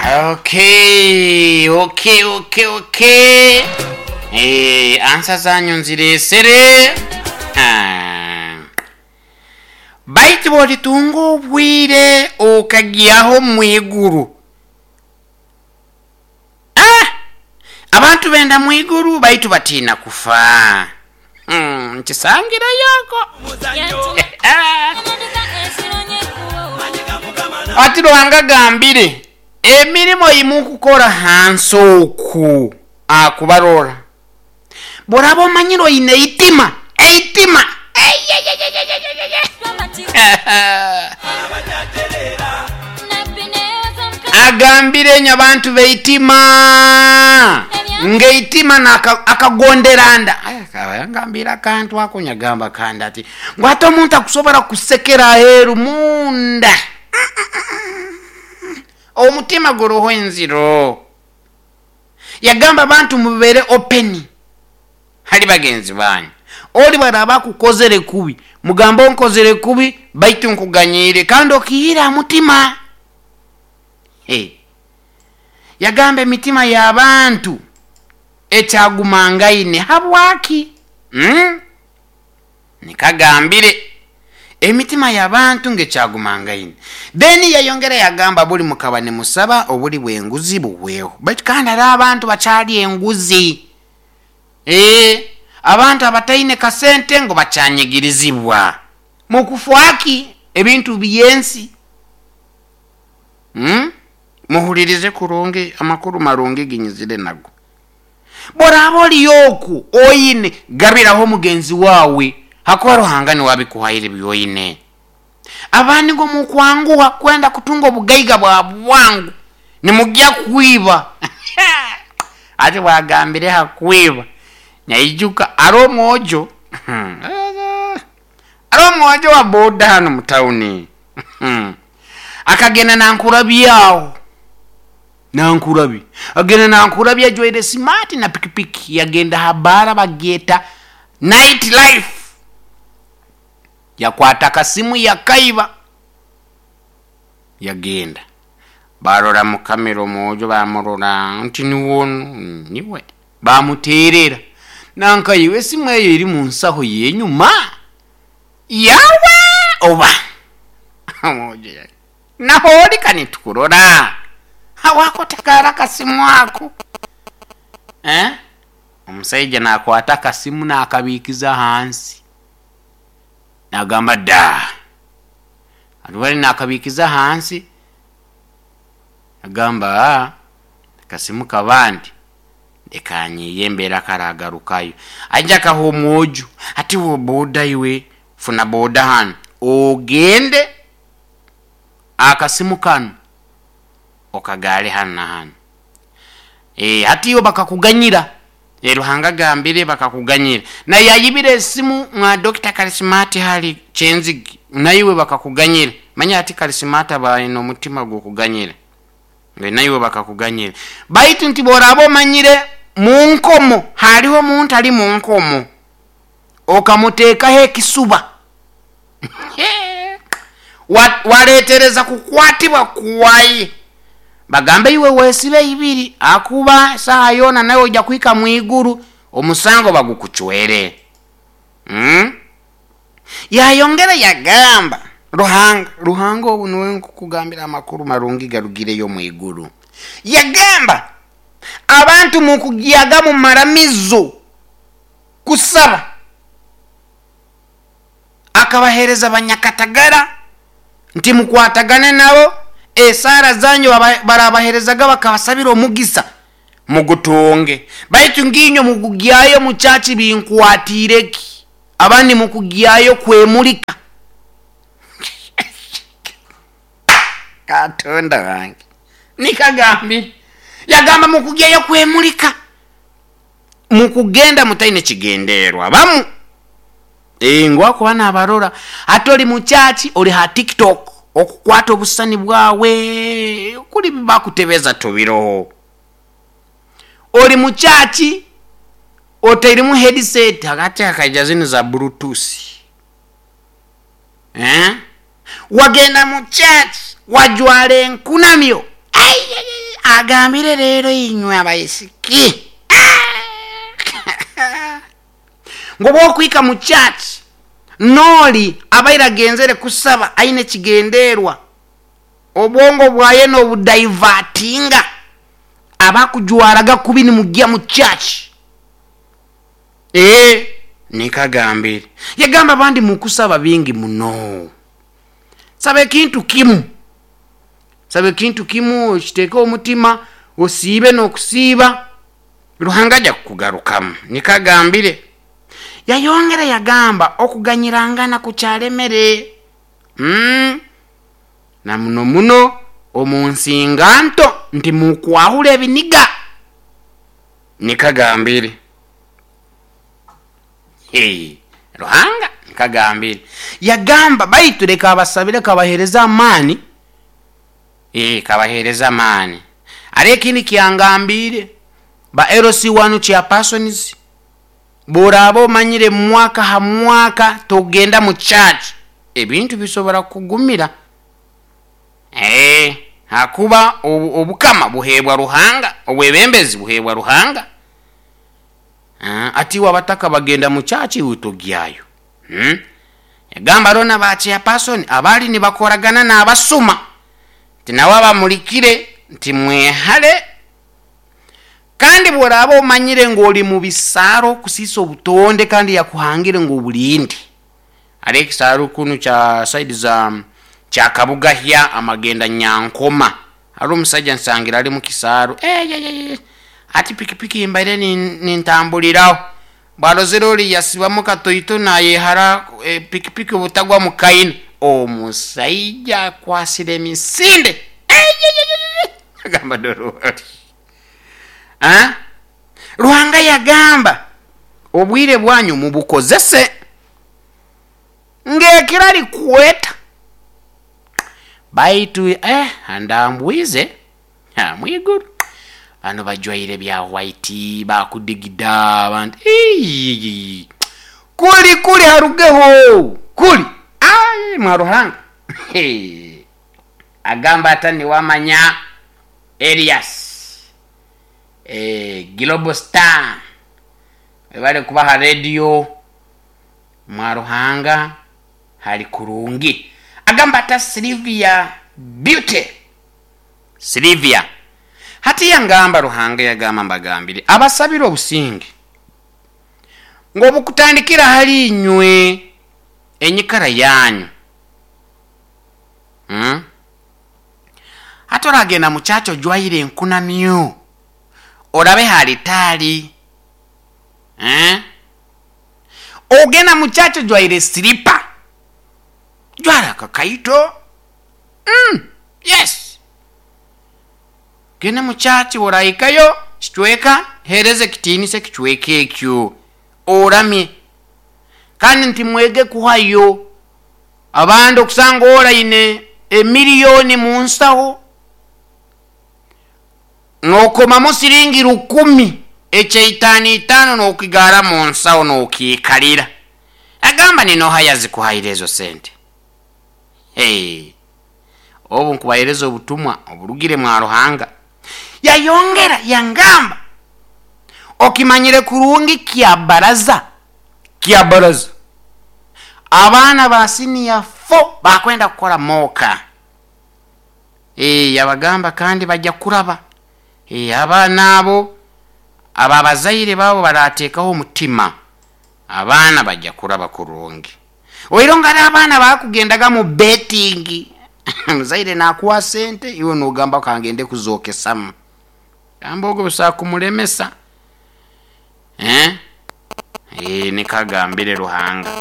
Okay. Ansa zanyu nziresere. Ah. Baitu bwolitunga obwire okagyaho mwiguru. Ah! Abantu benda mwiguru baitu batiina kufa. Nkisangireyoko. Ati Ruhanga agambire, emirimo yimukukora hansi oku akubarora. Boraba omanyire oine eitima, eitima. Agambire enyo abantu beitima ngeitima akagonderanda. Ngambira akantu ako nyagamba kandi ati ngu ate omuntu akusobora kusekera aheru munda. Omutima guroho enziro. Yagamba abantu mubere open hali bagenzi banyu. Oli baraba kukozere kubi, mugambo nkozere kubi baitu nkuganyire kandi okihira mutima. Hey. Yagamba emitima y'abantu ekyagumangaine habwaki? Nikagambire emitima y'abantu ngekyagumangaine. Then yayongera yagamba buli mukaba ne musaba obuli bwenguzi buweho. Baitu kandi ari abantu bakyali enguzi. Abantu abataine kasente ngo bacyanyigirizibwa. Mukufwaki ebintu byensi. Muhulirize kurungi amakuru marungi ginyizire nago. Boraba oliyoku oyine gabiraho mugenzi wawe hakuba Ruhanga ni wabikuhaire byoyine. Abandi ngo mukwanguha kwenda kutunga obugaiga bwa bwangu nimujya kwiba. Ati wagambire hakwiba nyaijuka ari omwojo. Ari omwojo wa boda hano mu town. Akagenda nankurabyaho. Nankurabi. Agenda nankurabi ajwaire smart na pikipiki yagenda habara bageta night life. Yakwata kasimu yakaiba. Yagenda. Barora mu kamera omwojo bamurora nti niwono niwe. Bamuterera. Nanka iwe simu eyo eri mu nsaho yenyuma. Yawe oba. Omwojo yali. Naholi kanitukurora. Hawako takara kasimu ako. Omusajja nakwata kasimu nakabikiza hansi. Nagamba da. Alwali nakabikiza hansi. Nagamba kasimu kabandi. Dekanyi yembera karagarukayo. Ajja kaho omwojo. Ati wo boda iwe funa boda hano. Ogende akasimu kano. Okagale hano na hano. Hati yo bakakuganyira. Ruhanga gambire bakakuganyira. Na yayibire esimu mwa Dr. Karismati hali Chenzigi. Naiwe bakakuganyira. Manya ati Karismati abaine omutima gw'okuganyira. Naiwe bakakuganyira. Baitu nti boraba omanyire mu nkomo, hariho omuntu ali mu nkomo. Okamuteekaho ekisuba. Waleetereza kukwatibwa kwaye. Bagambe iwe wesibe ibiri akuba saha yona nawe ojja kuhika mwiguru omusango bagukuchwere. Yayongera yagamba Ruhanga, Ruhanga obu niwe nkukugambira amakuru marungi garugireyo mwiguru. Yagamba abantu mukugyaga mu maramizo kusaba akabahereza banyakatagara nti mukwatagane nabo. Esara zanyu barabaherezaga bakabasabira omugisa mugutonge. Baitu nginyo mukugyayo muchachi binkwatireki. Abandi mukugyayo kwemulika. Katonda wange. Nikagambi. Yagamba mukugyayo kwemulika. Mukugenda mutaine kigenderwa. Bamu. Ngwako bana abarora. Ate oli muchachi oli ha TikTok. Okukwata obusani bwawe kuli bakutebeza tobiroho. Oli muchachi oteirimu headset hagati akaija zino za bluetooth. Wagenda muchachi wajwale enkunamyo. Ai, Agambire rero inywe abaisiki ngu bwokwika mu church noli abaire agenzere kusaba aine ekigenderwa, obwongo bwaye nobudivertinga, abakujwaraga kubi nimugya mu church. Nikagambire yagamba abandi mukusaba bingi muno, saba ekintu kimu, saba ekintu kimu okiteeke omutima, osiibe n'okusiiba, Ruhanga aja kukugarukamu. Nikagambire yayongera yagamba okuganyirangana kukyalemere, na muno muno omu nsinganto nti mukwahura ebiniga. Nikagambire Ruhanga nikagambire yagamba baitu leka abasabire kabahereze amaani, kabahereze amaani. Hariho ekindi kyangambire ba LC1 chairpersons, bworaaba omanyire mwaka ha mwaka togenda mu church, ebintu bisobora kukugumira. Hakuba obukama buheebwa Ruhanga, obwebembezi buheebwa Ruhanga. Ati iwe abataka bagenda mu church iwe togyayo. Yagamba hariho na ba chairperson abali nibakoragana n'abasuma, nti nawe abamulikire nti mwehale. Kandi bworaaba omanyire ngu oli mu bisaaro okusiisa obutonde kandi yakuhangire ngu obulinde. Hariho ekisaaru kunu kya side za kya Kabugahya amagenda Nyankoma, hariho omusaija nsangire ali mu kisaaru eyeyeye ati pikipiki mbaire nintambuliraho, bwarozire ori yasibamu katoito nayehara pikipiki obutagwa mu kaina, omusaija akwasire emisinde eyeyeye agamba dora ori. Ruhanga yagamba obwire bwanyu mubukozese ng'ekiro arikweta, baitu andambwize mwiguru bano bajwaire bya white bakudigida abantu kuli kuli harugeho kuli mwa Ruhanga agamba ata niwamanya Elias Global Star webale kuba ha radio mwa Ruhanga hali kurungi. Agamba ata Sylvia Beauty Sylvia hati yangamba Ruhanga yagamba mbagambire abasabire obusinge ngu obukutandikira hali inywe enyikara yanyu. Hati oragenda mu church ojwaire enkunamyo, orabe ha alitaali, ogenda mu church ojwaire siripa, jwara akakaito, yes, genda mu church bworahikayo kicweka hereza ekitiinisa ekicweka ekyo oramye. Kandi nti mwege kuhayo. Abandi okusanga oraine emiliyoni mu nsaho nokomamu siringi 1000 ekyaitano itano nokigara mu nsaho nokiikalira. Agamba ninoha yazikuhaire ezo sente? Obu nkubahereza obutumwa oburugire mwa Ruhanga. Yayongera yangamba okimanyire kurungi kya baraza, kya baraza abaana ba senior 4 bakwenda kukora moka. Yabagamba kandi bajja kuraba. Abaana abo ababazaire babo barateekaho omutima, abaana bajja kuraba kurungi. Oiro nga abaana bakugendaga mu betting, muzaire nakuwa sente iwe nogamba kangende kuzokesamu, gamba ogwo busa kumulemesa. Nikagambire Ruhanga.